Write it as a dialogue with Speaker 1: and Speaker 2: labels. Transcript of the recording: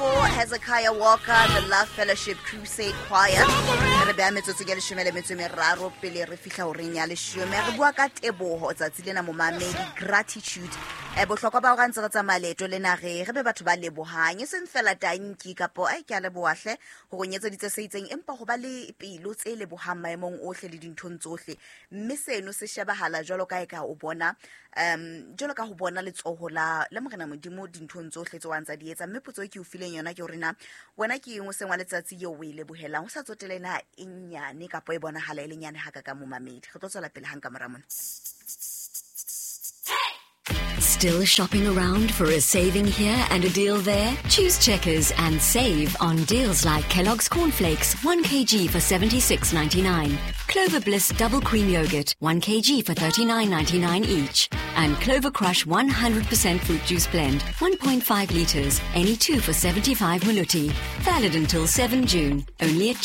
Speaker 1: 4, Hezekiah Walker, the Love Fellowship Crusade Choir. Re beha metsotso ke leshome le metso e meraro pele re fihla horeng ya leshome. Re bua ka teboho tsatsi lena, momamedi, gratitude. Bohlokwa ba hore ha ntse re tsamaya leeto lena re be batho ba lebohang, e seng fela tanki kapo ai ke a leboha hle hore o nyetseditse se itseng, empa ho ba le pelo tse lebohang maemong ohle le dinthong tsohle. Mme seno se shebahala jwalo ka eka o bona jwalo ka ho bona letsoho la Morena Modimo dinthong tsohle tse wa ntsa di etsa. Mme potso e ke o fileng yona ke hore na wena ke eng o seng wa letsatsi eo o e lebohelang, ho sa tsotele na e nyane kapa e bonahala e le nyane ha ka ka momamedi. Re tlo tswela pele hang ka mora mona.
Speaker 2: Still shopping around for a saving here and a deal there? Choose Checkers and save on deals like Kellogg's Cornflakes, 1 kg for 76.99, Clover Bliss Double Cream Yogurt, 1 kg for 39.99 each, and Clover Crush 100% Fruit Juice Blend, 1.5 litres, any two for 75 Maluti. Valid until 7 June, only at Checkers.